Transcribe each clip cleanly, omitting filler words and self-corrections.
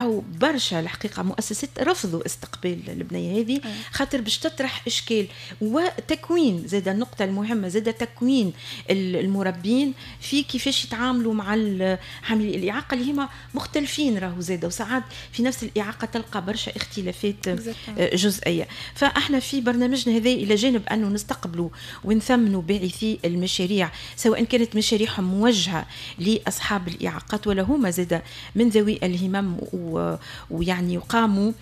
راهو برشا الحقيقة مؤسسات رفضوا استقبال البنية هذه خاطر باش تطرح اشكال. وتكوين زاد، النقطة المهمة زاد تكوين المربين في كيفاش يتعاملوا مع حاملي الاعاقة اللي هما مختلفين راهو زاد، وساعات في نفس الاعاقة تلقى برشا اختلافات جزئيه. فاحنا في برنامجنا هذا، الى جانب انه نستقبلوا ونثمنوا باعثي المشاريع، سواء كانت مشاريعهم موجهة لاصحاب الاعاقات ولا هما زاد من ذوي الهمم ويعني يقاموا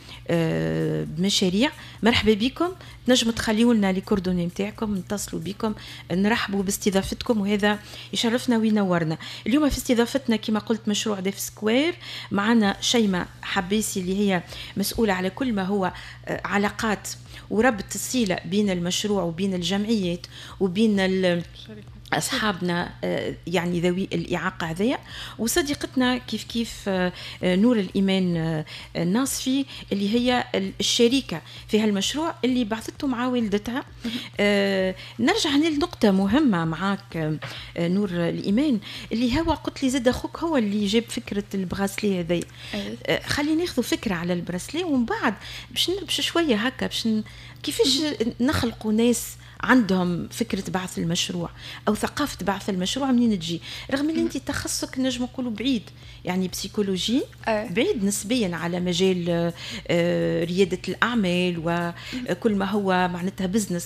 بمشاريع، مرحبا بكم. تنجموا تخليوا لنا les coordonnées نتاعكم، نتصلوا بكم، نرحبوا باستضافتكم وهذا يشرفنا وينورنا. اليوم في استضافتنا كما قلت مشروع Deaf Square، معنا شيماء حبيسي اللي هي مسؤولة على كل ما هو علاقات وربط الصلة بين المشروع وبين الجمعيات وبين اصحابنا يعني ذوي الاعاقة هذيا، وصديقتنا كيف كيف نور الايمان الناصفي اللي هي الشريكة في هالمشروع اللي بعثته مع والدتها. نرجع هنا لنقطة مهمة معاك نور الايمان، اللي هو قلت لي زاد اخوك هو اللي جاب فكرة ال bracelet هذي. خلينا ناخذ فكرة على ال bracelet ومن بعد باش نبش شوية هكا باش كيفاش نخلقوا ناس عندهم فكرة بعث المشروع أو ثقافة بعث المشروع منين تجي، رغم اللي أنت تخصصك نجم نقولوا بعيد، يعني psychologie بعيد نسبيا على مجال ريادة الأعمال وكل ما هو معناتها business،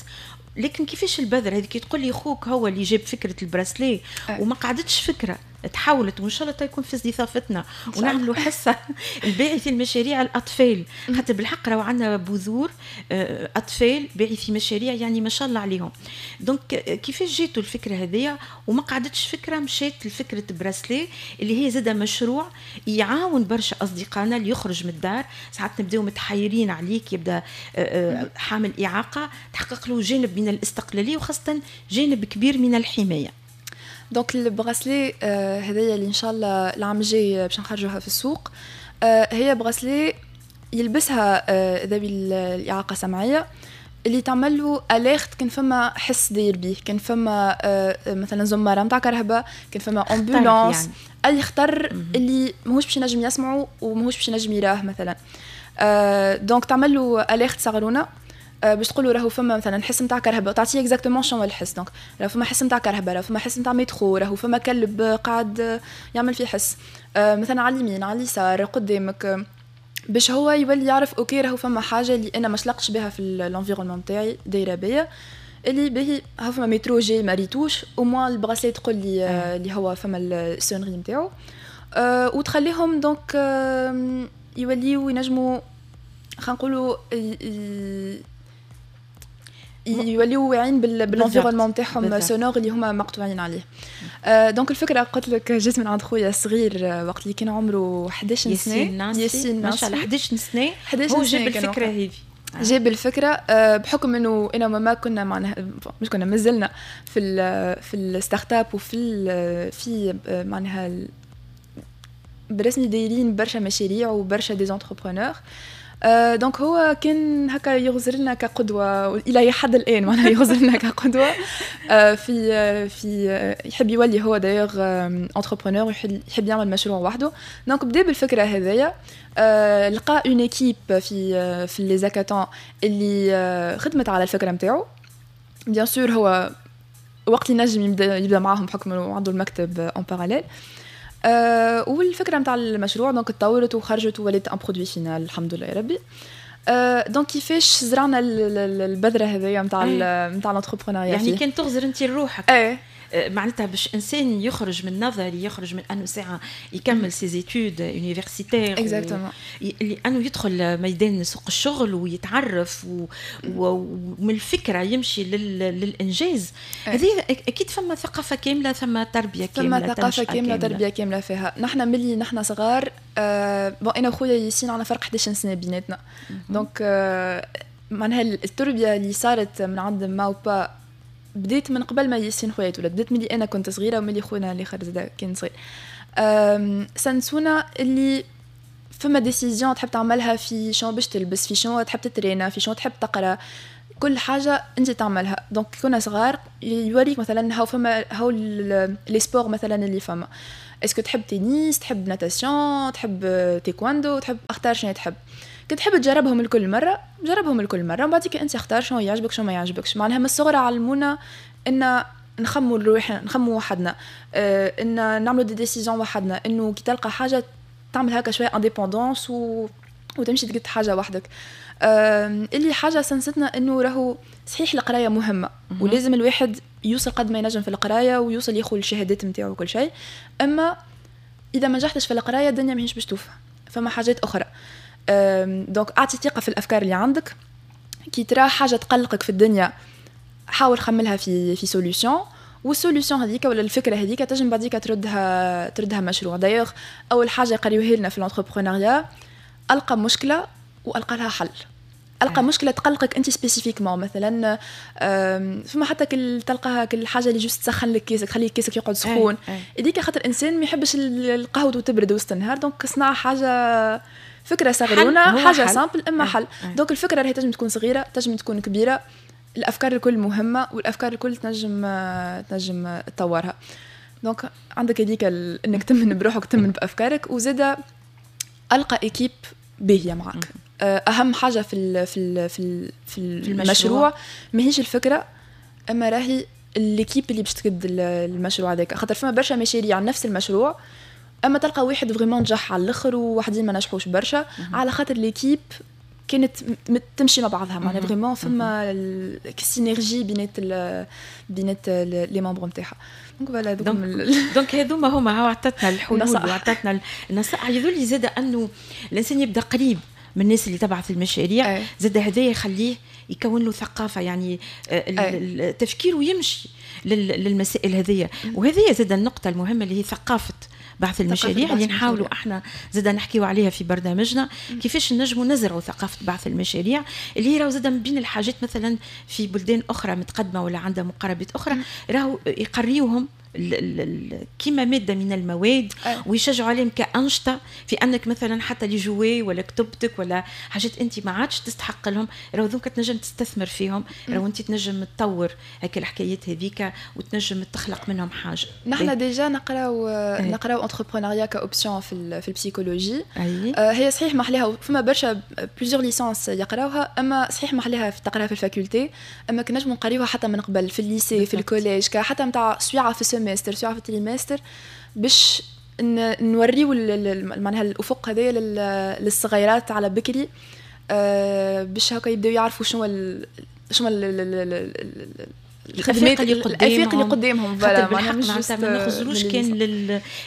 لكن كيفاش البذرة هذيك؟ تقول لي خوك هو اللي جاب فكرة ال bracelet وما قعدتش فكره، تحولت، وان شاء الله تكون في استضافتنا ونعملوا حصة الباعثي المشاريع الاطفال، خاطر بالحق راهو عندنا بذور اطفال باعثي مشاريع يعني ما شاء الله عليهم. donc كيفاش جاتوا الفكرة هذيا وما قعدتش فكره، مشات لفكرة bracelet اللي هي زاده مشروع يعاون برشا اصدقائنا اللي يخرج من الدار، ساعات نبداو متحيرين عليك، يبدا حامل اعاقه، تحقق له جانب من الاستقلالية وخاصة جانب كبير من الحمايه. donc ال bracelet هذايا اللي ان شاء الله العام الجاي باش نخرجوها في السوق، هي bracelet يلبسها ذوي الاعاقة السمعية اللي تعمل له alerte كان فما حس داير بيه، كان فما مثلا زماره نتاع كرهبه، كان فما ambulance يعني، اي خطر اللي ماهوش باش ينجم يسمعه وماهوش باش ينجم يراه مثلا. donc تعمل له alerte صغرونه باش تقولوا راهو فما مثلا حس نتاع كرهبه وتعطيه exactement شنو الحس. donc راهو فما حس نتاع كرهبه، راهو فما حس نتاع مترو، راهو فما كلب قاعد يعمل فيه حس مثلا على اليمين، على اليسار، قدامك، باش هو يولي يعرف OK راهو فما حاجة اللي انا ما شلقتش بها في l'environnement تاعي دايرة بيا، اللي باهي ها فما مترو جاي ما ريتوش، au moins ال bracelet تقول لي اللي هو فما ال sonnerie نتاعو وتخليهم donc يوليو ينجموا، خلينا نقولوا، يوليو واعيين بال environnement نتاعهم sonore اللي هما مقطوعين عليه. Donc الفكرة قلت لك جات من عند خويا الصغير وقت اللي كان عمره 11 سنه. ياسين، ما شاء الله، 11 سنه. 11 هو جاب الفكرة هذه. جاب الفكرة بحكم انه انا وماما كنا معناها، مش كنا، مازلنا في ال startup وفي ال في معناها برسمي دايرين برشا مشاريع وبرشا des entrepreneurs. Donc هو كان هكا يغزر لنا كقدوة إلى حد الآن، معناها يغزر لنا كقدوة في يحب يولي هو d'ailleurs entrepreneur، يحب يعمل مشروع وحده. donc بدا بالفكرة هذيا، لقى une équipe في les hackathons اللي خدمت على الفكرة نتاعو. bien sûr هو وقت اللي نجم يبدا معاهم بحكم انه عنده المكتب en parallèle. والفكرة نتاع المشروع donc تطورت وخرجت وولات un produit final، الحمد لله يا ربي. Donc كيفاش زرعنا البذرة هذيا نتاع l'entrepreneuriat؟ يعني كان تغزر انت لروحك ايه. معناتها باش انسان يخرج من نظري، يخرج من انه ساعة يكمل ses études universitaires، لانه يدخل ميدان سوق الشغل ويتعرف ومن الفكرة يمشي للانجاز. هذه اكيد فما ثقافة كامله، ثم تربيه كامله. ثم ثقافة كامله، تربيه كاملة فيها. نحن ملي نحن صغار bon انا وخويا ياسين عندنا فرق 11 سنة بيناتنا، donc معناها التربية اللي صارت من عند ما وبا بديت من قبل ما ياسين خويا يتولد، بديت ملي انا كنت صغيرة وملي خونا الاخر زاد كان صغير. سنسونا اللي فما décision تحب تعملها، في شنو باش تلبس، في شنو تحب تترينا، في شنو تحب تقرا، كل حاجة انت تعملها. donc كنا صغار يوريك مثلا هاو فما هاو les sports مثلا اللي فما est-ce que تحب تنس، تحب natation، تحب تايكواندو، تحب، اختار شنو تحب. كي تحب تجربهم الكل مره، جربهم الكل مره، ومن بعد انت اختار شنو يعجبك شنو ما يعجبكش. معناها من الصغر علمونا ان نخموا لروحنا، نخموا وحدنا، ان نعملوا des décisions وحدنا، انه كي تلقى حاجة تعمل هكا شوية indépendance وتمشي تقد حاجة وحدك. اللي حاجة سنستنا انه راهو صحيح القراية مهمة ولازم الواحد يوصل قد ما ينجم في القراية ويوصل ياخذ الشهادات نتاعو وكل شيء، اما اذا ما نجحتش في القراية الدنيا ماهيش باش توفى، فما حاجات اخرى. donc اعطي ثقة في الافكار اللي عندك. كي ترى حاجة تقلقك في الدنيا حاول خملها في solution، وال solution هذيك ولا الفكرة هذيك تنجم بعديك تردها مشروع. d'ailleurs اول حاجة يقريوها لنا في l'entrepreneuriat، القى مشكلة والقى لها حل. القى مشكلة تقلقك انت spécifiquement، مثلا فما حتى كل تلقاها كل حاجة اللي juste تسخن لك كيسك، تخلي كيسك يقعد سخون. هذيك خاطر الانسان ما يحبش القهوة تبرد وسط النهار، donc صنع حاجه، فكرة صغيرونه، حاجة simple اما حل. donc الفكرة راهي تنجم تكون صغيره، تنجم تكون كبيره، الافكار الكل مهمة والافكار الكل تنجم تطورها. donc عندك هذيك انك تمن بروحك، تمن بافكارك، وزاده القى équipe باهيه معك. اهم حاجة في المشروع ماهيش الفكره، اما راهي l'équipe اللي باش تقد المشروع هذاك، خاطر فما برشا مشاريع نفس المشروع اما تلقى واحد vraiment نجح على الاخر وواحدين ما نجحوش برشا، على خاطر l'équipe كانت تمشي مع بعضها، معناها vraiment فما synergie بينات les membres نتاعها. donc voilà. donc هذوما هما، هو عطتنا الحلول وعطتنا النصائح. يظل زاد انه الانسان يبدا قريب من الناس اللي تبعث المشاريع، زاد هذا يخليه يكون له ثقافه، يعني تفكيره يمشي للمسائل هذه. وهذه زاد النقطة المهمة اللي هي ثقافة بعث المشاريع اللي نحاولوا احنا زاد نحكيو عليها في برنامجنا، كيفاش نجموا نزرعوا ثقافة بعث المشاريع، اللي هي راهو زاد من بين الحاجات مثلا في بلدان اخرى متقدمة ولا عندها مقاربات اخرى راهو يقريوهم كيما مادة من المواد ويشجعوا عليهم كانشطه، في انك مثلا حتى les jouets ولا كتبتك ولا حاجات انت ما عادش تستحق لهم، راهو ذوك تنجم تستثمر فيهم، راهو انت تنجم تطور هكا الحكايات هذيك وتنجم تخلق منهم حاجه. نحن déjà نقراو entrepreneuriat ك option في ال psychologie. هي صحيح محليها، فما برشا plusieurs licences يقراوها، اما صحيح محليها تقراها في ال faculté، اما كنا نجمو نقريوها حتى من قبل في ال lycée، في ال collège، حتى نتاع سويعه في ال semestre، سويعه في ال trimestre، باش نوريو معناها الافق هذايا للصغيرات على بكري، باش هكا يبداو يعرفوا شنو الخدمات اللي قدامهم، الافاق اللي قدامهم. voilà، معناتها ما نخزروش كان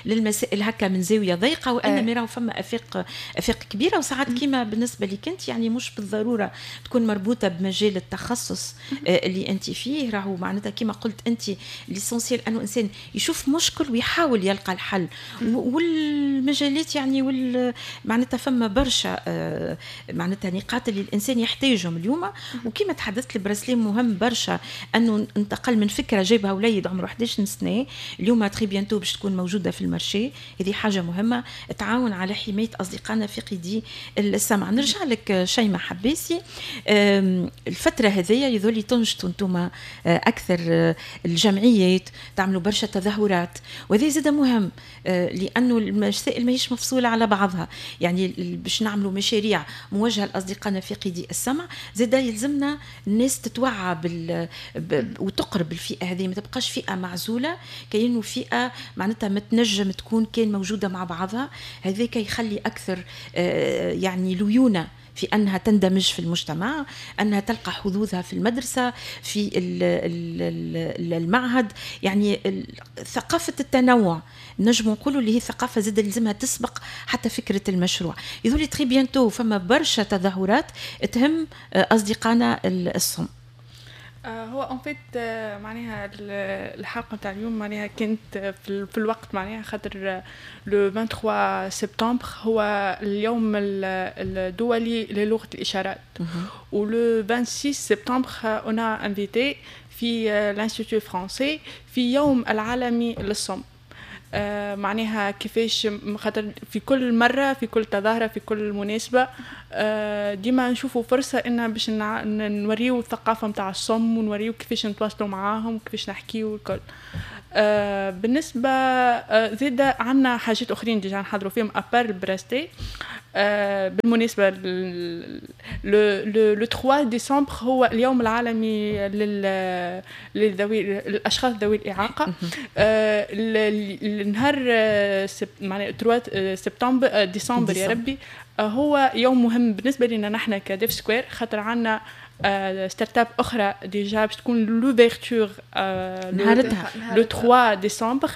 للمسائل هكا من زاوية ضيقه، وانما راهو فما افاق كبيره. وساعات كيما بالنسبة لك انت، يعني مش بالضرورة تكون مربوطة بمجال التخصص اللي انت فيه. راهو معناتها كيما قلت انت، l'essentiel انه انسان يشوف مشكل ويحاول يلقى الحل، والمجالات يعني معناتها فما برشا معناتها نقاط اللي الانسان يحتاجهم اليوم. وكما تحدثت، ال bracelet مهم برشا، انه انتقل من فكرة جايبها وليد عمره 11 سنه، اليوم très bientôt باش تكون موجودة في ال marché. هذه حاجة مهمة تعاون على حماية اصدقائنا فاقدي السمع. نرجع لك شيماء حباسي، الفترة هذيا يظل تنشطوا انتم اكثر الجمعيات، تعملوا برشا تظاهرات، وهذا زاد مهم لانه المسائل ماهيش مفصوله على بعضها. يعني باش نعملوا مشاريع موجهة لاصدقائنا فاقدي السمع، زاد يلزمنا الناس تتوعى وتقرب الفئة هذه، ما تبقاش فئة معزوله، كأنه فئة معناتها ما تنجم تكون كان موجودة مع بعضها. هذاك يخلي اكثر يعني ليونه في انها تندمج في المجتمع، انها تلقى حظوظها في المدرسه، في المعهد. يعني ثقافة التنوع نجم نقولوا اللي هي ثقافة زاد لازمها تسبق حتى فكرة المشروع. يظهر très bientôt فما برشا تظاهرات تهم اصدقائنا الصم. هو en fait معناها الحلقة نتاع اليوم معناها كانت في الوقت، معناها خاطر le 23 سبتمبر هو اليوم الدولي للغة الاشارات، و le 26 سبتمبر on a invité في l'Institut français في يوم العالمي للصم. معناها كيفاش، خاطر في كل مرة، في كل تظاهره، في كل مناسبه، ديما نشوفوا فرصة ان باش نوريو الثقافة نتاع الصم ونوريو كيفاش نتواصلوا معاهم، كيفاش نحكيو الكل. بالنسبة زيادة عندنا حاجات اخرين déjà نحضروا فيهم à part ال bracelet. بالمناسبة le 3 ديسمبر هو اليوم العالمي للذوي الاشخاص ذوي الاعاقه. النهار معناها 3 سبتمبر، ديسمبر يا ربي، هو يوم مهم بالنسبة لنا نحن ك Dev Square، خاطر عندنا startup اخرى déjà باش تكون l'ouverture نهارتها le 3 ديسمبر.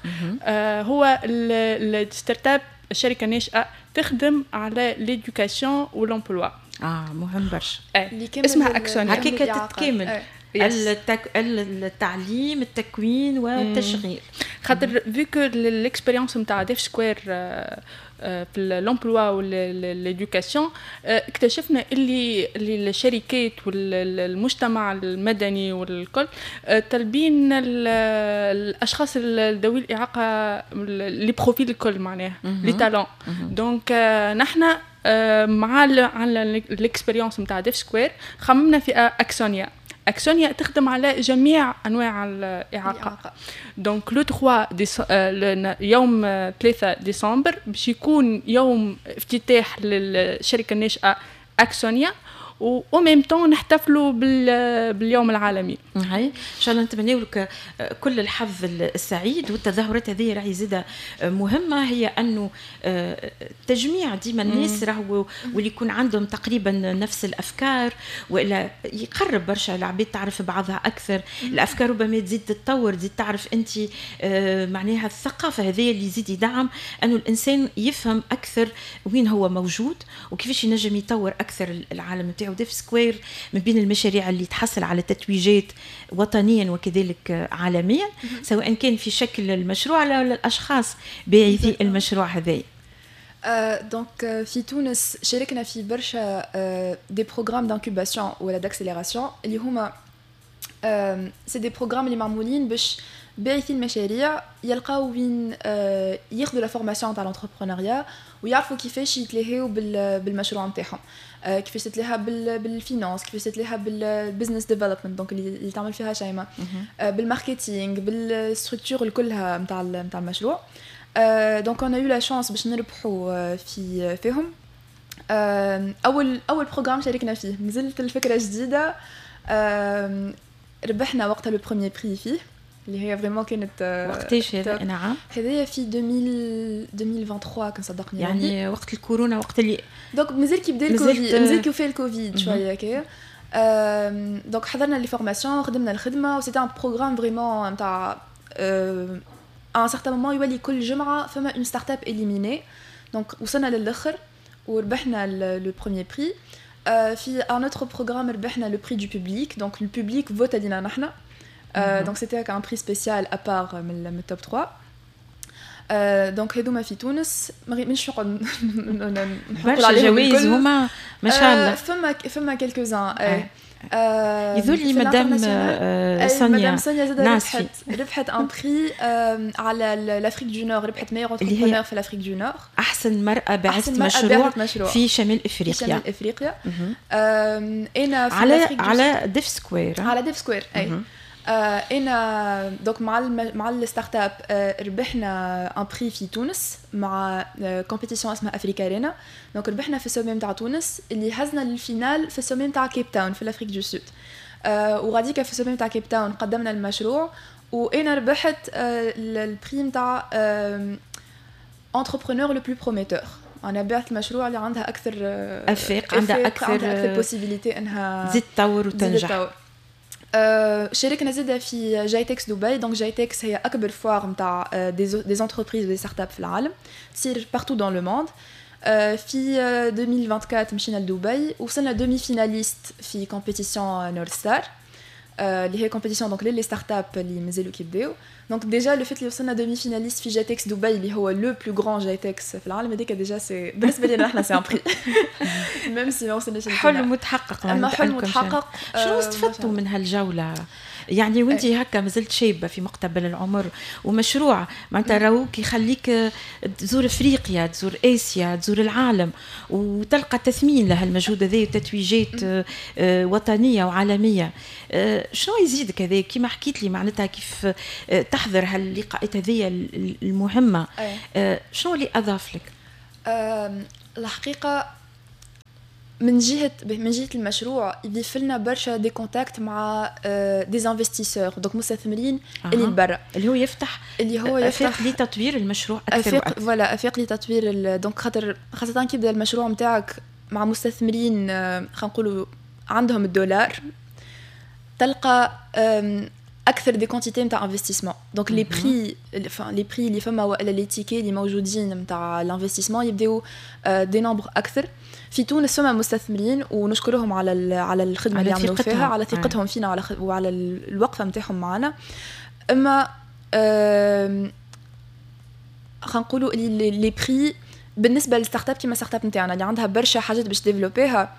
هو ال startup، الشركة الناشئة تخدم على l'éducation و l'emploi. مهم برشا. اسمها اكسونيا. هكاك تتكامل التعليم، التكوين والتشغيل. خاطر vu que l'expérience نتاع Dev Square في l'emploi و l'éducation، اكتشفنا اللي الشركات والمجتمع المدني والكل طالبين الاشخاص ذوي الاعاقه، les profils الكل، معناها les talents. donc نحن مع على l'expérience نتاع Dev Square خممنا في اكسونيا. اكسونيا تخدم على جميع انواع الاعاقه. donc le 3، يوم 3 ديسمبر، باش يكون يوم افتتاح للشركة الناشئة اكسونيا و même temps نحتفلوا باليوم العالمي. هاي ان شاء الله نتمنى لك كل الحظ السعيد. والتظاهرات هذه راهي زاده مهمه، هي انه تجميع ديما الناس راهو واللي يكون عندهم تقريبا نفس الافكار، والا يقرب برشا العباد، تعرف بعضها اكثر، الافكار ربما تزيد تتطور، تزيد تعرف انت معناها الثقافة هذه اللي يزيد يدعم انه الانسان يفهم اكثر وين هو موجود وكيفاش ينجم يطور اكثر العالم نتاعو. Dev Square من بين المشاريع اللي تحصل على تتويجات وطنيا وكذلك عالميا، سواء كان في شكل المشروع ولا الاشخاص باعثي المشروع هذا. donc في تونس شاركنا في برشا des programmes d'incubation ولا d'accélération، اللي هما c'est des programmes اللي معمولين باش باعثي المشاريع يلقاو وين ياخذوا la formation تاع l'entrepreneuriat ويعرفوا كيفاش يتلهيو بالمشروع نتاعهم، كيفاش تتلهى بال finance، كيفاش تتلهى بال business development، donc اللي تعمل فيها شيماء، بال marketing، بال structure كلها نتاع المشروع. donc on a eu la chance باش نربحوا فيهم. اول programme شاركنا فيه مازلت الفكرة جديده، ربحنا وقتها le premier prix فيه، اللي هي vraiment كانت وقتاش هذا؟ نعم. هذايا في 2023 كان صدقني. يعني وقت الكورونا، وقت اللي donc مازال كي بدا الكوفيد، مازال كي وفى الكوفيد شوية هكايا. donc حضرنا les formations، خدمنا الخدمه، و c'était un programme vraiment نتاع à un certain moment يولي كل جمعه فما une startup éliminée. donc وصلنا للاخر وربحنا le premier prix. في un autre programme ربحنا le prix du public، donc le public vote علينا نحنا، donc c'était un prix spécial à part من ال top 3. donc هذوما في تونس، مش نقعد نحط عليهم جوائز هما ما شاء الله. فما quelques-uns. يظل مدام سونيا. مدام سونيا زاد ربحت un prix على l'Afrique du Nord، ربحت meilleure entrepreneur في l'Afrique du Nord. احسن مرأة بعثت مشروع، مشروع في شمال افريقيا. في شمال افريقيا. انا في على Dev Square. على Dev Square، اي. انا donc مع ال startup ربحنا un prix في تونس مع compétition اسمها AfricArena. donc ربحنا في ال sommet نتاع تونس اللي هزنا لل finale في ال sommet نتاع كيب تاون في l'Afrique du Sud. وغاديكا في ال sommet نتاع كيب تاون قدمنا المشروع وانا ربحت ال prix نتاع entrepreneur le plus prometteur. انا بعت المشروع اللي عندها اكثر افاق، عندها اكثر possibilité انها تزيد تطور وتنجح. شاركنا زاده في GITEX دبي. donc GITEX هي اكبر foire نتاع des entreprises و des startups في العالم، تصير partout dans le monde. في 2024 مشينا لدبي، وصلنا demi-finaliste في compétition North Star، اللي هي compétition donc les startups اللي مازالوا كيبداو. donc déjà le fait اللي وصلنا demi-finaliste في GITEX دبي، اللي هو le plus grand GITEX في العالم، هذيك déjà c'est بالنسبة لنا احنا c'est un prix، même si ما وصلناش. حلم متحقق. اما حلم متحقق. شنو استفدتوا من هالجوله؟ يعني وانت هكا مازلت شابه في مقتبل العمر، ومشروع معناتها راهوك يخليك تزور افريقيا، تزور اسيا، تزور العالم، وتلقى تثمين لهالمجهود هذا وتتويجات وطنية وعالميه. شنو يزيدك هذا كيما حكيت لي معناتها كيف تحضر هاللقاءات هذه المهمه، شنو اللي اضاف لك؟ الحقيقة من جهه المشروع يضيف لنا برشا des contacts مع des investisseurs، donc مستثمرين اللي برا. اللي هو يفتح اللي هو يفتح لتطوير المشروع اكثر. افاق، voilà، افاق لتطوير. donc خاطر خاصة كي يبدا المشروع نتاعك مع مستثمرين خلينا نقولوا عندهم الدولار، تلقى اكثر des quantités نتاع investissement، donc les prix les prix اللي فما والا les tickets اللي موجودين نتاع l'investissement يبداو des nombres اكثر. في تونس فما مستثمرين ونشكرهم على الخدمة اللي يعملوا فيها، على ثقتهم فينا وعلى الوقفة نتاعهم معنا. اما خلينا نقولوا les prix بالنسبة لل startup كيما startup نتاعنا اللي عندها برشا حاجات باش développer ها،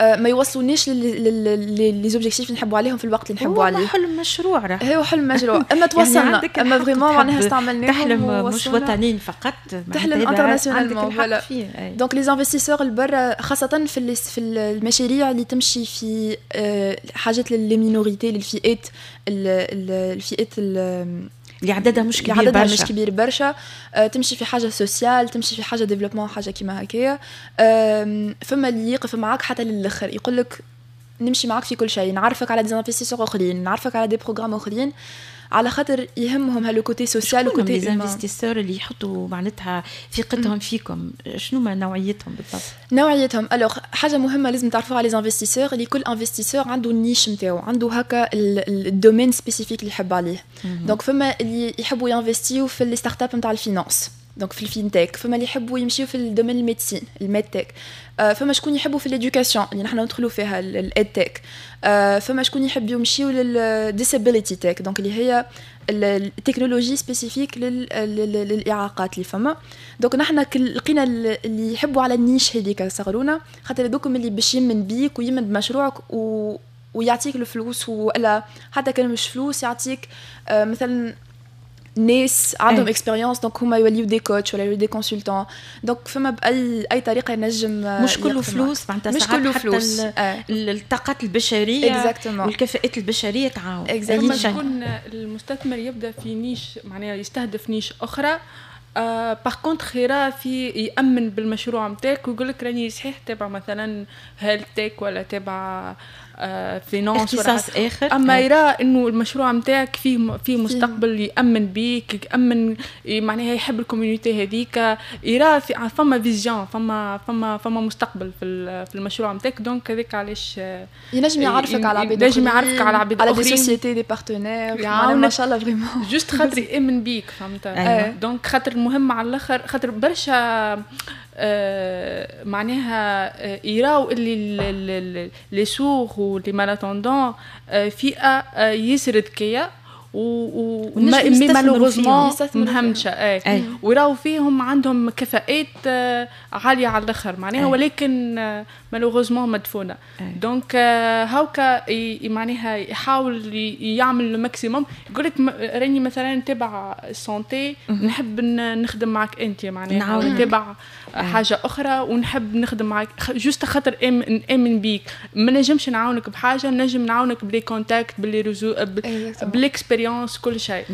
ما يوصلونيش les objectifs اللي نحبوا عليهم في الوقت اللي نحبوا عليه. هو حلم مشروع راه. هو حلم مشروع، اما توصلنا يعني، اما vraiment معناها استعملناهم. تحلم مش وطنيين فقط. تحلم internationalement، voilà. donc les investisseurs البرا، خاصة في المشاريع اللي تمشي في حاجات les minorités، للفئات، الفئات اللي عددها مش كبير. عددها برشا، مش كبير برشا، تمشي في حاجة sociale، تمشي في حاجة développement، حاجة كيما هكايا، فما اللي يقف معاك حتى للاخر، يقول لك نمشي معاك في كل شيء، نعرفك على des investisseurs اخرين، نعرفك على des programmes اخرين، على خاطر يهمهم ها le côté social و côté les investisseurs اللي يحطوا معناتها ثقتهم فيكم، شنو ما نوعيتهم بالضبط؟ نوعيتهم، alors حاجة مهمة لازم تعرفوها على les investisseurs، اللي كل investisseur عنده ال niche نتاعو، عنده هكا ال domaine spécifique اللي يحب عليه. donc فما اللي يحبوا ي investi و في les startups نتاع ال finance، donc في ال fintech، فما اللي يحبوا يمشيو في ال domaine ال médecine، ال medtech، فما شكون يحبوا في l'éducation اللي نحن ندخلوا فيها، ال edtech، فما شكون يحب يمشيو لل disability tech، donc اللي هي ال technologie spécifique للاعاقات اللي فما. donc نحن لقينا اللي يحبوا على ال niche هذيك صغرونا، خاطر هذوكم اللي باش يمن بيك ويمن بمشروعك ويعطيك الفلوس، ولا حتى كان مش فلوس يعطيك مثلا ناس عندهم expérience، donc هما يوليو des coachs ولا يوليو des consultants. donc فما باي طريقه ينجم. مش كله فلوس معناتها. مش كله فلوس. الطاقات البشرية والكفاءات البشرية تعاون. لما يكون المستثمر يبدا في niche، معناها يستهدف niche اخرى، par contre يرى في يامن بالمشروع نتاعك ويقول لك راني صحيح تبع مثلا health tech ولا تبع finance اختصاص اخر. اما يرى انه المشروع نتاعك فيه مستقبل، يامن بيك، يامن معناها يحب ال community هذيك، يرى في فما vision، فما مستقبل في المشروع نتاعك. donc هذاك علاش. ينجم يعرفك على عباد. ينجم يعرفك على عباد. على des sociétés، des partenaires، ما شاء الله vraiment. juste خاطر يامن بيك، فهمت؟ donc خاطر المهم على الاخر، خاطر برشا معناها يراو اللي les sourds و les malentendants فئة ياسر ذكية و mais malheureusement مهمشه، اي، وراو فيهم عندهم كفاءات عالية على الاخر معناها، ولكن malheureusement مدفونه. donc هاوكا معناها يحاول يعمل le maximum، يقول لك راني مثلا تبع santé، نحب نخدم معك انت، معناها نتبع حاجة اخرى ونحب نخدم معك juste خاطر نامن بيك. ما نجمش نعاونك بحاجه، نجم نعاونك ب les contacts، ب les réseaux، بال expérience، كل شيء.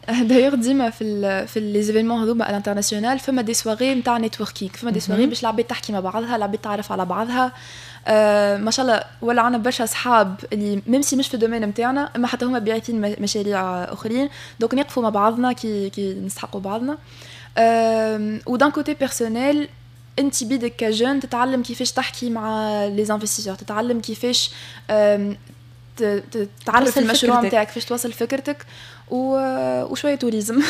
d'ailleurs ديما في les événements هذوما à l'international فما des soirées نتاع networking، فما des soirées باش العباد تحكي مع بعضها، العباد تعرف على بعضها. ما شاء الله ولا عندنا برشا اصحاب اللي même si مش في ال domaine نتاعنا، اما حتى هما باعثين مشاريع اخرين، donc نقفوا مع بعضنا كي نستحقوا بعضنا. و d'un côté personnel، انت بيدك ك jeune تتعلم كيفاش تحكي مع les investisseurs، تتعلم كيفاش تعرف المشروع نتاعك، كيفاش توصل فكرتك. وشوية tourisme.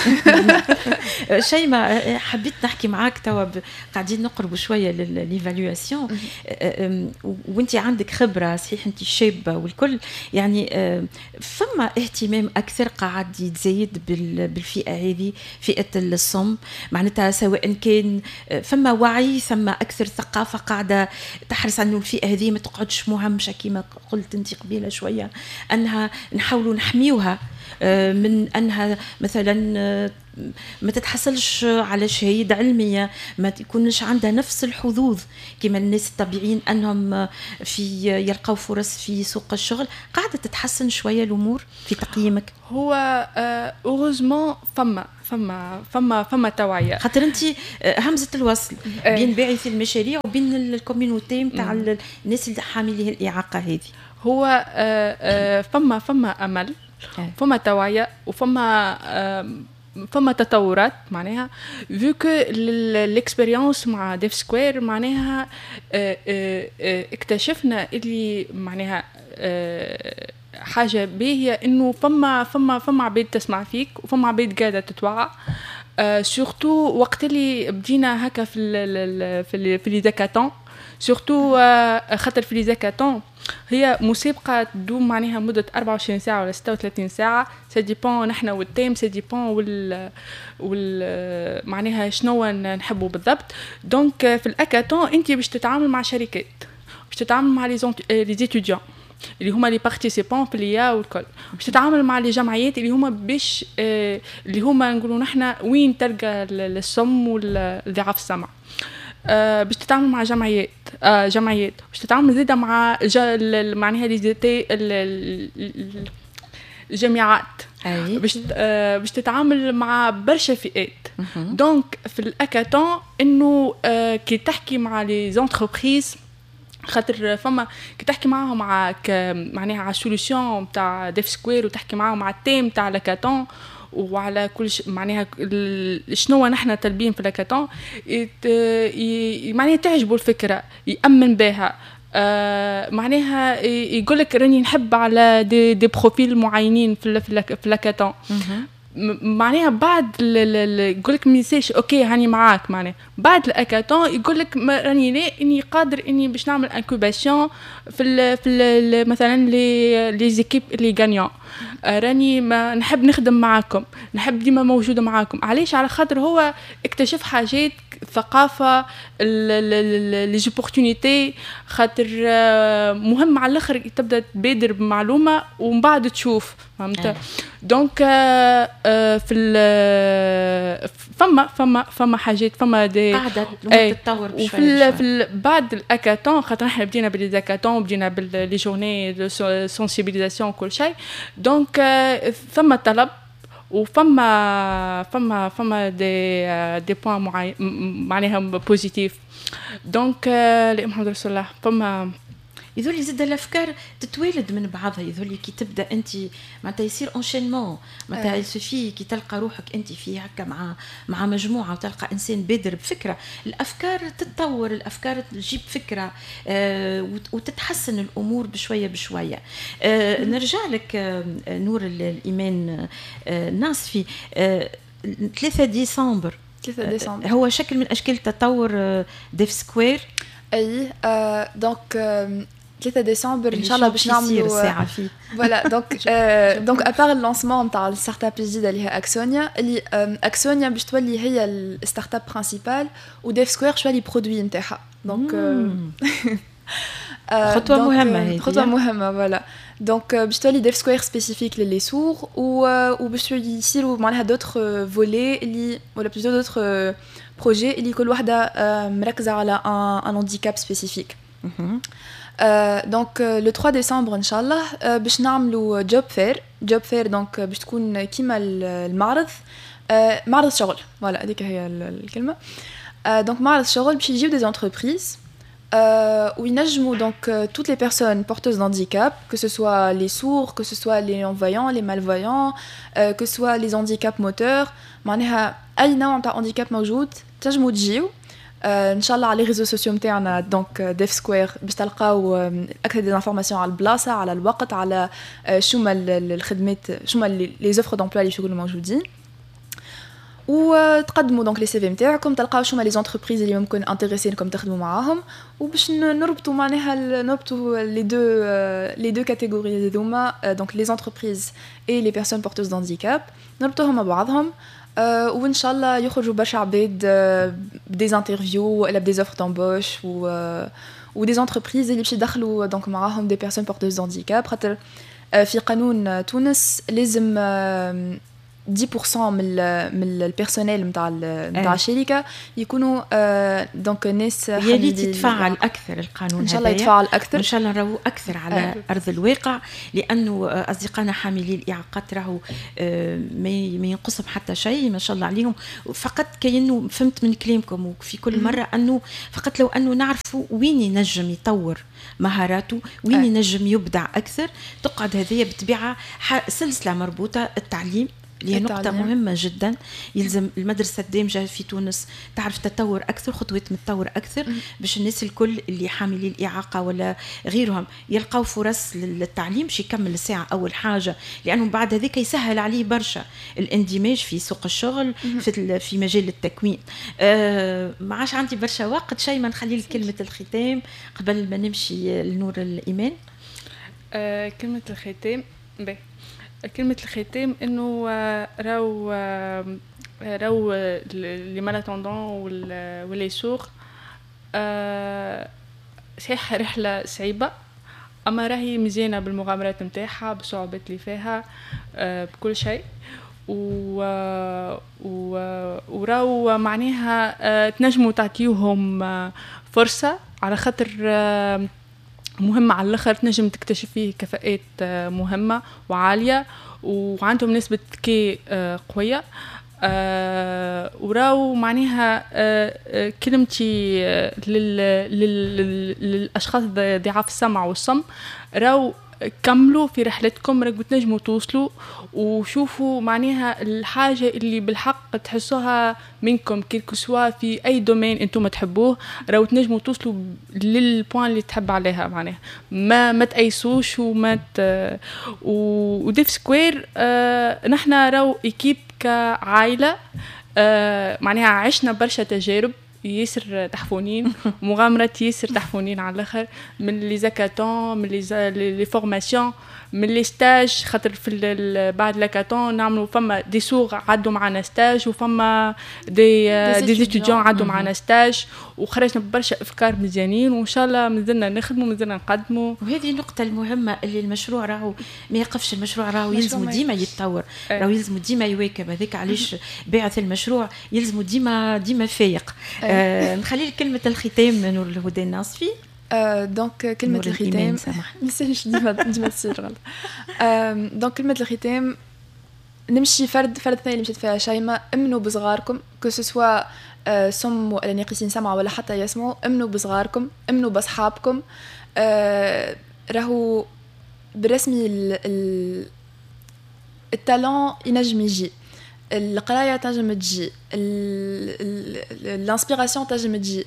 شيماء، حبيت نحكي معاك توا، قاعدين نقربوا شوية لل l'évaluation، وانت عندك خبره، صحيح انت شابه والكل، يعني فما اهتمام اكثر قاعد يتزايد بالفئه هذه، فئة الصم، معناتها سواء كان فما وعي، ثم اكثر ثقافة قاعدة تحرص انه الفئة هذه ما تقعدش مهمشه كما قلت انت قبيلة شويه، انها نحاولوا نحميوها من انها مثلا ما تتحصلش على شهادة علميه، ما يكونش عندها نفس الحظوظ كما الناس الطبيعيين انهم في يلقاو فرص في سوق الشغل. قاعدة تتحسن شوية الامور في تقييمك؟ هو heureusement فما توعيه. خاطر انت همزه الوصل بين باعثي المشاريع وبين ال communauté نتاع الناس اللي حاملين الاعاقة هذه. هو فما امل، فما توعيه، وفما تطورات، معناها vu que l'expérience مع Deaf Square معناها اكتشفنا اللي معناها حاجة باهيه انه فما عباد تسمع فيك وفما عباد قاعدة تتوعى، surtout وقت اللي بدينا هكا في les hackathons، surtout خاطر في les hackathons هي مسابقة تدوم معناها مدة 24 ساعة ولا 36 ساعة، ça dépend نحن وال thème، ça dépend وال معناها شنو نحبوا بالضبط. donc في الاكاتون انت باش تتعامل مع شركات، باش تتعامل مع les étudiants اللي هما les participants في l'IA والكل، باش تتعامل مع les جمعيات اللي هما باش اللي هما نقولوا نحن وين تلقى الصم والضعاف السمع، باش تتعامل مع جمعيات، باش تتعامل زيادة مع معناها les الجامعات، باش تتعامل مع برشا فئات. donc في الاكاتون انه كي تحكي مع les entreprises، خاطر فما كي تحكي معاهم مع معناها على ال solution تاع Deaf Square وتحكي معاهم على ال thème تاع l'hackathon وعلى كل معناها شنو نحن طالبين في l'hackathon، معناها تعجبوا الفكره، يامن بها، معناها يقول لك راني نحب على des profils معينين في l'hackathon. معناها بعد يقول لك ميساش OK هاني معاك، معناها بعد الاكاتون يقول لك راني لا اني قادر اني باش نعمل incubation في ال مثلا les équipes les gagnants، راني ما نحب نخدم معاكم، نحب ديما موجودة معاكم. علاش؟ على خاطر هو اكتشف حاجات، ثقافة les opportunités، خاطر مهم على الاخر تبدا تبادر بمعلومة ومن بعد تشوف، فهمت؟ donc في فما حاجات، فما des قاعدة تتطور. وفي في بعد الاكاتون، خاطر احنا بدينا ب les hackathons، بدينا ب les journées de sensibilisation كل شيء، donc ثم طلب وفما فما فما des points معناها positifs. donc محمد رسول الله فما يظهر زاد الافكار تتوالد من بعضها، يظهر كي تبدا انت معناتها يصير enchaînement، معناتها il suffit كي تلقى روحك انت في هكا مع مجموعة وتلقى انسان بادر بفكره، الافكار تتطور، الافكار تجيب فكرة وتتحسن الامور بشوية بشوية. نرجع لك نور الايمان ناصفي، 3 ديسمبر. 3 ديسمبر هو شكل من اشكال تطور Deaf Square. اي، donc 3 ديسمبر ان شاء الله باش نعملوا الساعة فيه. voilà، donc à part ال lancement نتاع ال startup الجديدة اللي هي اكسونيا، اللي اكسونيا باش تولي هي ال startup principale و Deaf Square شوية les produits نتاعها. donc خطوة مهمة هذه. خطوة مهمه، voilà. donc باش تولي Deaf Square spécifique ل les sourds وباش يصيروا معناها d'autres volets اللي ولا plutôt d'autres projets اللي كل وحده مركزه على un handicap spécifique. donc le 3 ديسمبر ان شاء الله باش نعملوا job fair، job fair donc باش تكون كيما المعرض، معرض شغل، voilà هذيك هي الكلمه. donc معرض شغل باش يجيو des entreprises وينجموا donc toutes les personnes porteuses d'handicap, que ce soit les sourds, que ce soit les non-voyants, les malvoyants, que ce soit les handicaps moteurs، معناها اي نوع نتاع handicap موجود تنجموا تجيو. ان شاء الله على les réseaux sociaux نتاعنا donc Deaf Square باش تلقاو اكثر des informations على البلاصه، على الوقت، على شو ما الخدمات، شو ما les offres d'emploi اللي يكونوا موجودين، وتقدموا donc les CV نتاعكم، تلقاو شو ما les entreprises اللي ممكن intéressées انكم تخدموا معاهم، وباش نربطوا معناها نربطوا les deux catégories هذوما، donc les entreprises et les personnes porteuses d'handicap، نربطوهم مع بعضهم، وان شاء الله يخرجوا برشا عباد ب des interviews ولا ب des offres d'embauche و des entreprises اللي باش يدخلوا donc معاهم des personnes porteuses d'handicap، خاطر في قانون تونس لازم 10% من ال personnel نتاع الشركة يكونوا donc ناس. يا ريت يتفعل اكثر القانون. ان شاء الله يتفعل اكثر. ان شاء الله نراو اكثر على ارض الواقع، لانه اصدقائنا حاملي الاعاقات راهو ما ينقصهم حتى شيء، ما شاء الله عليهم. فقط كأنه فهمت من كلامكم وفي كل مرة انه فقط لو انه نعرفوا وين ينجم يطور مهاراته، وين ينجم يبدع اكثر. تقعد هذه بالطبيعة سلسلة مربوطه، التعليم اللي هي نقطة مهمة جدا. يلزم المدرسة الدامجة في تونس تعرف تطور أكثر، خطوات متطور أكثر، باش الناس الكل اللي حاملي الإعاقة ولا غيرهم يلقاو فرص للتعليم باش يكمل الساعة أول حاجة، لأنه بعد هذاك يسهل عليه برشا الاندماج في سوق الشغل، في مجال التكوين. ما عادش عندي برشا وقت، شيء ما نخلي لك كلمة الختام قبل ما نمشي لنور الإيمان. كلمة الختام، باهي، كلمة الختام انه راهو les malentendants و les sourds صحيح رحلة صعيبة، اما راهي مزيانة بالمغامرات نتاعها، بالصعوبات اللي فيها، بكل شيء. و وراو معناها تنجموا تعطيوهم فرصة على خاطر مهمة على الاخر، تنجم تكتشف فيه كفاءات مهمة وعالية وعندهم نسبة ذكاء قوية. وراو معناها كلمتي للأشخاص ضعاف السمع والصم، راو كملوا في رحلتكم، راكم تنجموا توصلوا، وشوفوا معناها الحاجة اللي بالحق تحسوها منكم، quel que soit في أي domaine انتم تحبوه، راهو تنجموا توصلوا لل point اللي تحب عليها. معناها ما تأيسوش وما ت... و Deaf Square نحن راهو équipe كعائلة، معناها عشنا برشا تجارب ياسر تحفونين، مغامرات ياسر تحفونين على الاخر، من les hackathons، من les formations، من les stages، خاطر في بعد l'hackathon نعملوا فما des sourds عدوا معنا stage، وفما des étudiants عدوا معنا stage، وخرجنا ببرشا افكار مزيانين، وان شاء الله مازلنا نخدموا، مازلنا نقدموا. وهذه النقطة المهمة، اللي المشروع راهو ما يقفش، المشروع راهو يلزم ديما يتطور، راهو يلزم ديما يواكب. هذاك علاش باعث المشروع يلزم ديما ديما فايق. نخلي لك كلمة الختام نور الهدى الناصفي. Donc كلمة الختام، ما ديما ديما تصير غلط. donc كلمة الختام نمشي فرد فرد ثاني اللي مشيت فيها شيماء: امنوا بصغاركم، que ce soit صم ولا ناقصين سمع ولا حتى يسمعوا، امنوا بصغاركم، امنوا باصحابكم. راهو بالرسمي ال talent ينجم يجي، القراية تنجم تجي، l'inspiration تنجم تجي،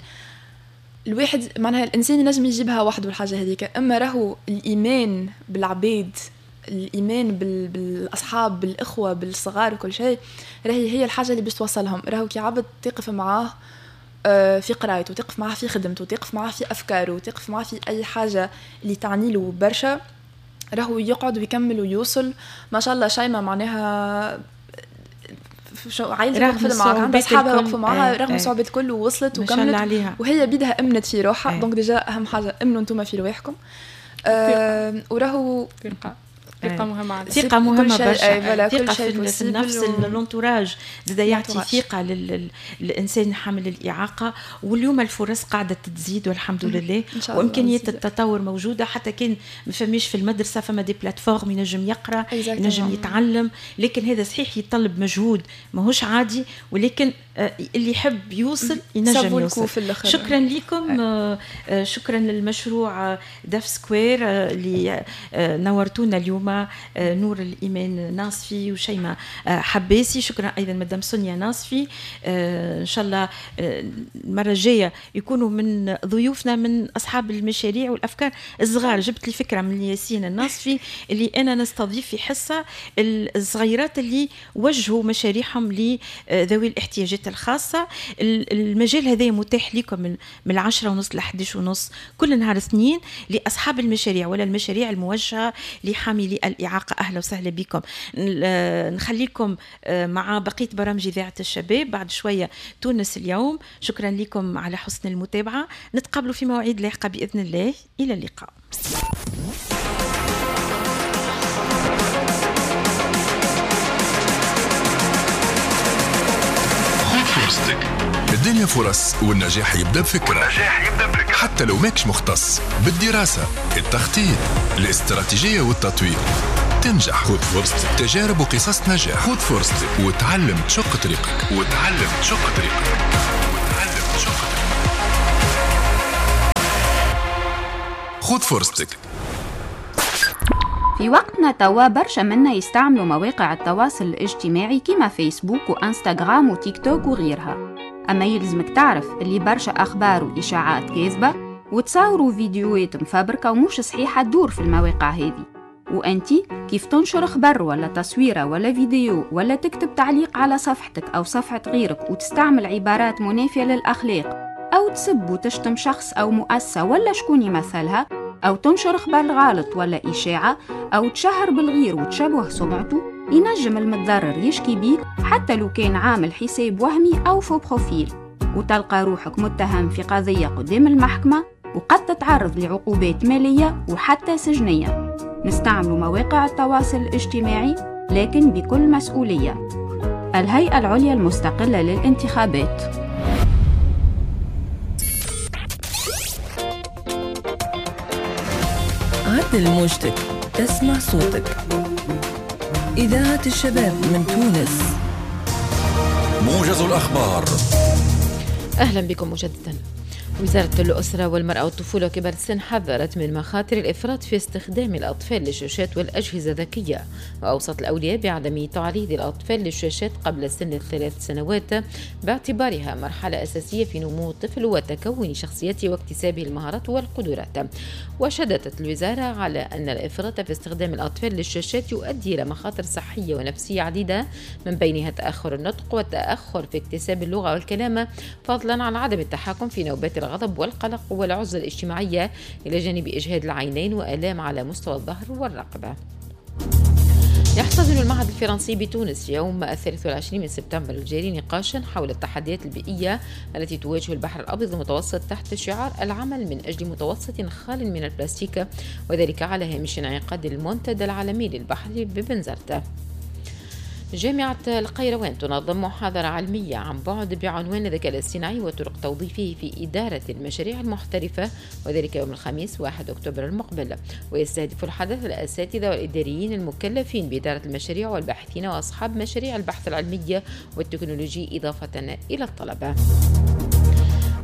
الواحد معناها الانسان ينجم يجيبها وحده الحاجة هذيك. اما راهو الايمان بالعباد، الايمان بالاصحاب، بالاخوه، بالصغار وكل شيء، راهي هي الحاجة اللي باش توصلهم. راهو كي عبد تقف معاه في قرايته، تقف معاه في خدمته، تقف معاه في افكاره، تقف معاه في اي حاجة اللي تعني له برشا، راهو يقعد ويكمل ويوصل. ما شاء الله شيماء معناها عائلتها وقفت معاها، عندها اصحابها وقفوا معاها رغم الصعوبات الكل، ووصلت وكملت عليها. وهي بيدها امنت في روحها. donc déjà اهم حاجة امنوا انتم في رواحكم. وراهو ثقة مهمة. ثقة مهمة برشا، ثقة في النفس. l'entourage زاد يعطي ثقة للإنسان حامل الإعاقة. واليوم الفرص قاعدة تزيد والحمد لله، وإمكانيات التطور موجودة، حتى كان ما فماش في المدرسة فما des plateformes ينجم يقرأ، ينجم يتعلم. لكن هذا صحيح يتطلب مجهود ماهوش عادي، ولكن اللي يحب يوصل ينجم يوصل. شكرا لكم، شكرا للمشروع Deaf Square اللي نورتونا اليوم. اليوم نور الإيمان ناصفي وشيماء حباسي. شكرا أيضا مدام سونيا ناصفي. إن شاء الله المرة الجاية يكونوا من ضيوفنا من أصحاب المشاريع والأفكار الصغار. جبت لي فكرة من ياسين الناصفي اللي أنا نستضيف في حصة الصغيرات اللي وجهوا مشاريعهم لذوي الاحتياجات الخاصة. المجال هذا متاح لكم من 10:30 ل 11:30 كل نهار اثنين لأصحاب المشاريع ولا المشاريع الموجهة لحاملي الإعاقة. أهلا وسهلا بكم. نخليكم مع بقية برامج إذاعة الشباب بعد شوية تونس اليوم. شكرا لكم على حسن المتابعة، نتقابلوا في مواعيد لاحقة بإذن الله. إلى اللقاء. فرصتك. الدنيا فرص والنجاح يبدأ بفكرة. حتى لو ماكش مختص بالدراسة، التخطيط، الاستراتيجية والتطوير تنجح. خذ فرصتك. تجارب وقصص نجاح. خذ فرصتك وتعلم تشق طريقك. خذ فرصتك. في وقتنا توا برشا منا يستعملوا مواقع التواصل الاجتماعي كما فيسبوك وانستغرام وتيك توك وغيرها. أما يلزمك تعرف اللي برشا أخبار وإشاعات كاذبة وتصاوروا فيديوهات مفبركة ومش صحيحة تدور في المواقع هذه. وأنتي كيف تنشر خبر ولا تصويرة ولا فيديو ولا تكتب تعليق على صفحتك أو صفحة غيرك وتستعمل عبارات منافية للأخلاق أو تسب وتشتم شخص أو مؤسسة ولا شكون يمثلها أو تنشر خبر غلط ولا إشاعة أو تشهر بالغير وتشبه سمعته، ينجم المتضرر يشكي بيك حتى لو كان عامل حساب وهمي أو faux profil، وتلقى روحك متهم في قضية قدام المحكمة وقد تتعرض لعقوبات مالية وحتى سجنية. نستعمل مواقع التواصل الاجتماعي لكن بكل مسؤولية. الهيئة العليا المستقلة للانتخابات. عدل موجتك، اسمع صوتك. إذاعة الشباب من تونس. موجز الأخبار. أهلا بكم مجددا. وزارة الأسرة والمرأة والطفولة وكبار السن حذرت من مخاطر الإفراط في استخدام الأطفال للشاشات والأجهزة الذكية، وأوصت الأولياء بعدم تعريض الأطفال للشاشات قبل سن 3 سنوات باعتبارها مرحلة أساسية في نمو الطفل وتكون شخصيته واكتسابه المهارات والقدرات. وشددت الوزارة على أن الإفراط في استخدام الأطفال للشاشات يؤدي إلى مخاطر صحية ونفسية عديدة، من بينها تأخر النطق والتأخر في اكتساب اللغة والكلام، فضلا عن عدم التحكم في نوبات الغضب والقلق والعزلة الاجتماعية، إلى جانب إجهاد العينين وآلام على مستوى الظهر والرقبة. يحتضن المعهد الفرنسي بتونس يوم 23 من سبتمبر الجاري نقاشا حول التحديات البيئية التي تواجه البحر الأبيض المتوسط تحت شعار العمل من أجل متوسط خال من البلاستيك، وذلك على هامش انعقاد المنتدى العالمي للبحر ببنزرت. جامعة القيروان تنظم محاضرة علمية عن بعد بعنوان الذكاء الاصطناعي وطرق توظيفه في إدارة المشاريع المحترفة، وذلك يوم الخميس 1 أكتوبر المقبل. ويستهدف الحدث الأساتذة والإداريين المكلفين بإدارة المشاريع والباحثين وأصحاب مشاريع البحث العلمي والتكنولوجي، إضافة إلى الطلبة.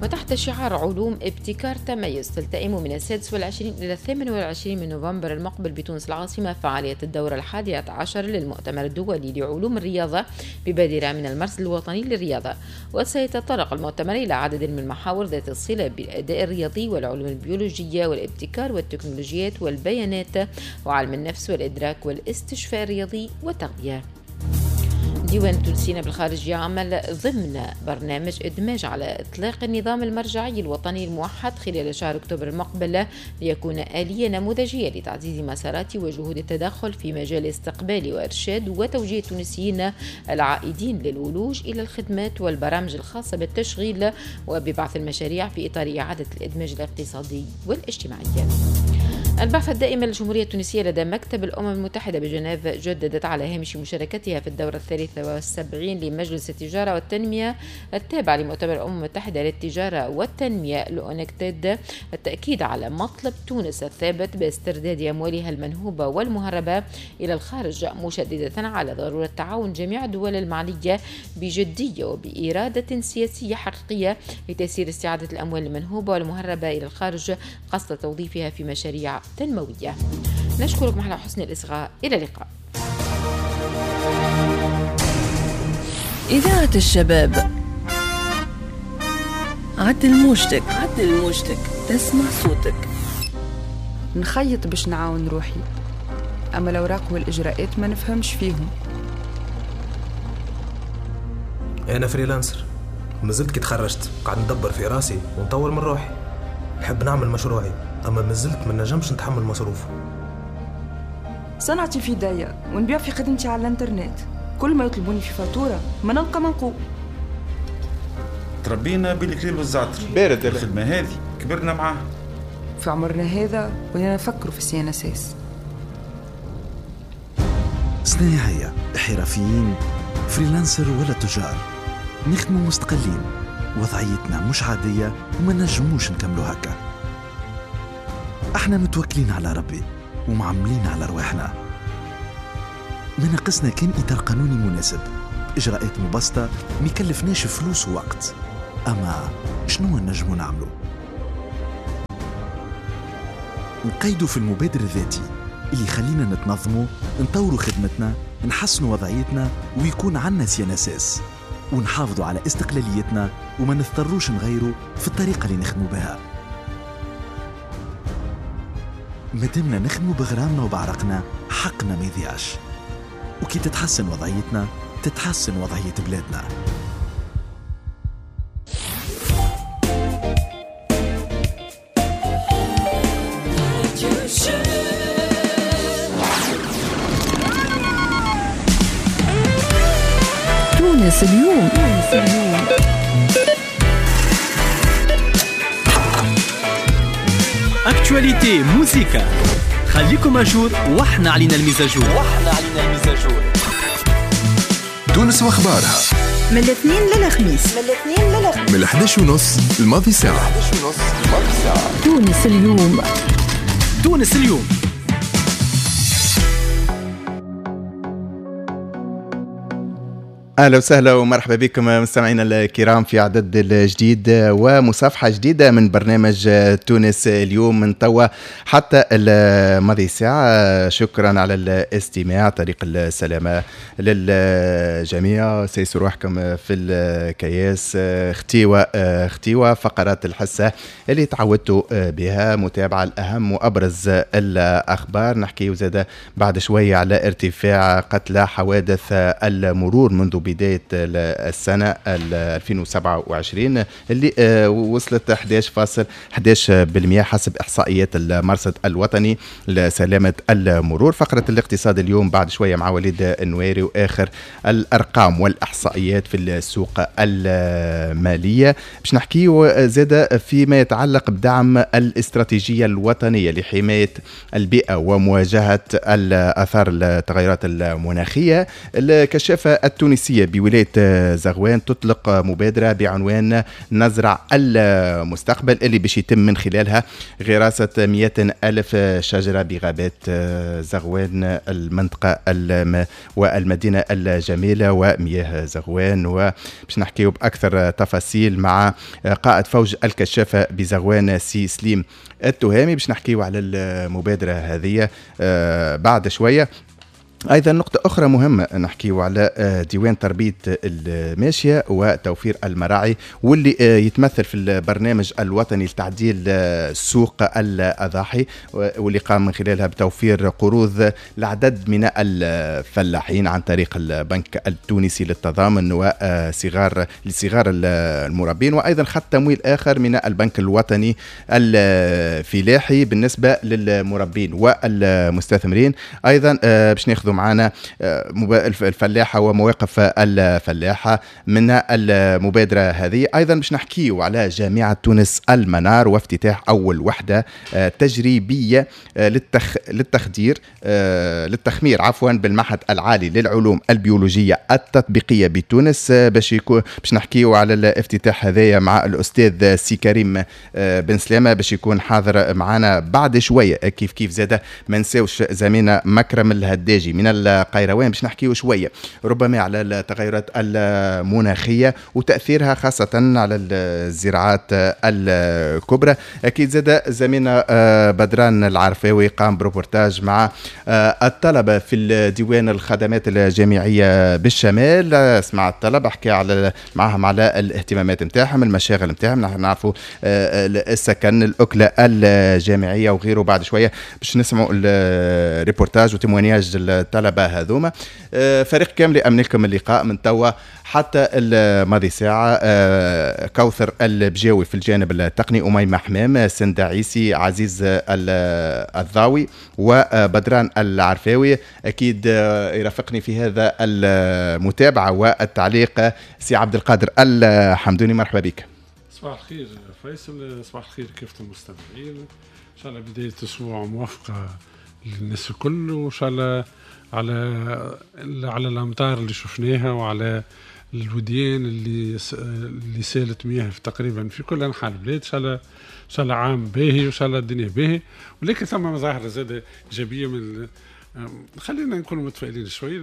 وتحت شعار علوم ابتكار تميز تلتئم من 26 إلى 28 من نوفمبر المقبل بتونس العاصمة فعالية الدورة 11 للمؤتمر الدولي لعلوم الرياضة ببادرة من المرصد الوطني للرياضة. وسيتطرق المؤتمر إلى عدد من المحاور ذات الصلة بالأداء الرياضي والعلوم البيولوجية والابتكار والتكنولوجيات والبيانات وعلم النفس والإدراك والاستشفاء الرياضي والتغذية. ديوان التونسيين بالخارج يعمل ضمن برنامج إدماج على إطلاق النظام المرجعي الوطني الموحد خلال شهر أكتوبر المقبل ليكون آلية نموذجية لتعزيز مسارات وجهود التدخل في مجال استقبال وإرشاد وتوجيه التونسيين العائدين للولوج إلى الخدمات والبرامج الخاصة بالتشغيل وببعث المشاريع في إطار إعادة الإدماج الاقتصادي والاجتماعي. البعثة الدائمة للجمهورية التونسية لدى مكتب الأمم المتحدة بجنيف جددت على هامش مشاركتها في الدورة 73 لمجلس التجارة والتنمية التابع لمؤتمر الأمم المتحدة للتجارة والتنمية الأونكتاد التأكيد على مطلب تونس الثابت باسترداد أموالها المنهوبة والمهربة إلى الخارج، مشددة على ضرورة تعاون جميع الدول المعنية بجدية وبإرادة سياسية حقيقية لتيسير استعادة الأموال المنهوبة والمهربة إلى الخارج قصد توظيفها في مشاريع تنموية. نشكركم على حسن الإصغاء، إلى اللقاء. إذاعة الشباب، عدل موجتك، عدل موجتك، تسمع صوتك. نخيط باش نعاون روحي، أما الأوراق والإجراءات ما نفهمش فيهم. أنا freelancer، مازلت كي تخرجت قاعد ندبر في راسي ونطور من روحي. نحب نعمل مشروعي، أما مازلت ما نجمش نتحمل مصروفه. صنعتي في يديا ونبيع في خدمتي على الانترنت، كل ما يطلبوني في فاتورة ما نلقى منقول. تربينا بالكليل والزعتر، بارد الخدمة هذه كبرنا معاها. في عمرنا هذا ولينا نفكروا في ال CNSS. صناعية، حرفيين، freelancer ولا تجار، نخدموا مستقلين، وضعيتنا مش عادية وما نجموش نكملوا هكا. احنا متوكلين على ربي ومعملين على رواحنا. ما ناقصنا كان إطار قانوني مناسب، إجراءات مبسطة، ما يكلفناش فلوس ووقت. أما شنو نجمو نعملو؟ نقيدو في المبادر الذاتي اللي يخلينا نتنظمو، نطورو خدمتنا، نحسنو وضعيتنا، ويكون عنا CNSS، ونحافظوا على استقلاليتنا وما نضطروش نغيروا في الطريقة اللي نخدمو بها. مادامنا نخدمو بغرامنا وبعرقنا، حقنا ما يضيعش. وكي تتحسن وضعيتنا تتحسن وضعية بلادنا. تونس اليوم. actualité موسيقى، خليكم à jour واحنا علينا ال mise à jour. تونس واخبارها من الاثنين للخميس، من 11:30 الماضي ساعة. تونس اليوم، تونس اليوم. اهلا وسهلا ومرحبا بكم مستمعينا الكرام في عدد الجديد ومصافحه جديدة من برنامج تونس اليوم من توا حتى الماضي ساعة. شكرا على الاستماع، طريق السلامة للجميع، سيسوا روحكم في الكياس. اختيوه فقرات الحصة اللي تعودتوا بها، متابعه الاهم وابرز الاخبار. نحكي زاده بعد شوية على ارتفاع قتلى حوادث المرور منذ بداية السنة 2027 اللي وصلت 11.11% حسب إحصائيات المرصد الوطني لسلامة المرور. فقرة الاقتصاد اليوم بعد شوية مع وليد النويري وآخر الأرقام والإحصائيات في السوق المالية. باش نحكيه زادة فيما يتعلق بدعم الاستراتيجية الوطنية لحماية البيئة ومواجهة الآثار التغيرات المناخية. الكشافة التونسية بولاية زغوان تطلق مبادرة بعنوان نزرع المستقبل اللي باش يتم من خلالها غراسة 200,000 شجرة بغابات زغوان، المنطقة والمدينة الجميلة ومياه زغوان. وباش نحكيو بأكثر تفاصيل مع قائد فوج الكشافة بزغوان سي سليم التهامي باش نحكيو على المبادرة هذه بعد شوية. أيضا نقطة أخرى مهمة نحكيه على ديوان تربية الماشية وتوفير المراعي واللي يتمثل في البرنامج الوطني لتعديل سوق الأضاحي واللي قام من خلالها بتوفير قروض لعدد من الفلاحين عن طريق البنك التونسي للتضامن وصغار لصغار المربين، وأيضا خط تمويل آخر من البنك الوطني الفلاحي بالنسبة للمربين والمستثمرين. أيضا باش ناخذ معنا الفلاحة ومواقف الفلاحة من المبادرة هذه. أيضا باش نحكيو على جامعة تونس المنار وافتتاح أول وحدة تجريبية للتخمير عفوا بالمعهد العالي للعلوم البيولوجية التطبيقية بتونس. باش نحكيو على الافتتاح هذايا مع الأستاذ سي كريم بن سلامة باش يكون حاضر معنا بعد شوية. كيف كيف زادة ما نساوش زميلنا مكرم الهداجي من القيروان باش نحكيو شوية ربما على التغيرات المناخية وتاثيرها خاصة على الزراعات الكبرى. اكيد زاد زميلنا بدران العرفاوي قام بروبورتاج مع الطلبة في الديوان الخدمات الجامعية بالشمال، سمع الطلبة، حكى على معهم على الاهتمامات نتاعهم، المشاغل نتاعهم، نحن نعرفوا السكن، الاكلة الجامعية وغيره. بعد شوية باش نسمعوا ال reportage و témoignage الطلبة هذوما. فريق كامل امن لكم اللقاء من توا حتى الماضي ساعة، كوثر البجاوي في الجانب التقني، اميمة حمام، سندة عيسي، عزيز الضاوي، وبدران العرفاوي. اكيد يرافقني في هذا المتابعة والتعليق سي عبد القادر الحمدوني، مرحبا بك. صباح الخير فيصل، صباح الخير كافة المستمعين، ان شاء الله بداية اسبوع موفقة للناس الكل، وان شاء الله على الامطار اللي شفناها وعلى الوديان اللي سالت مياه في تقريبا في كل انحاء البلاد. ان شاء الله، ان شاء الله عام باهي وان شاء الله الدنيا باهي، ولكن ثم مظاهر زاد ايجابية من خلينا نكونوا متفائلين شوي.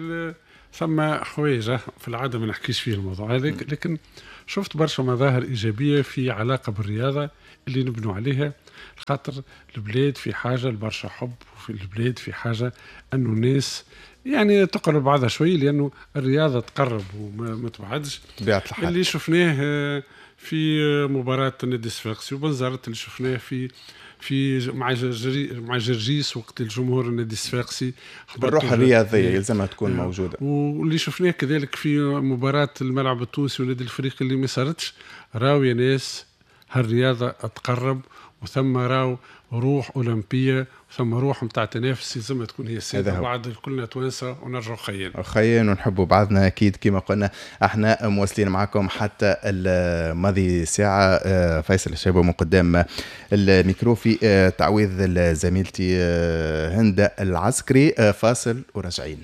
ثم حوايج في العادة ما نحكيش فيه الموضوع هذاك، لكن شفت برشا مظاهر ايجابية في علاقة بالرياضة اللي نبنوا عليها، خاطر البلاد في حاجة لبرشا حب، وفي البلاد في حاجة انه الناس يعني تقرب بعضها شوي، لانه الرياضة تقرب وما تبعدش. طبيعة الحال اللي شفناه في مباراة النادي الصفاقسي وبنزرت، اللي شفناه في في مع جرجيس وقت الجمهور النادي الصفاقسي، الروح الرياضية يلزمها تكون موجودة، واللي شفناه كذلك في مباراة الملعب التونسي والنادي الافريقي اللي ما صارتش. راو يا ناس هالرياضه تقرب، وثم راو روح أولمبية، ثم روح نتاع تنافس لازم تكون هي السيدة. بعد كلنا توانسة ونرجعوا خيين خيين ونحبوا بعضنا. أكيد كما قلنا احنا مواصلين معكم حتى الماضي ساعة. فيصل الشابو من قدام الميكرو في تعويض زميلتي هند العسكري. فاصل وراجعين.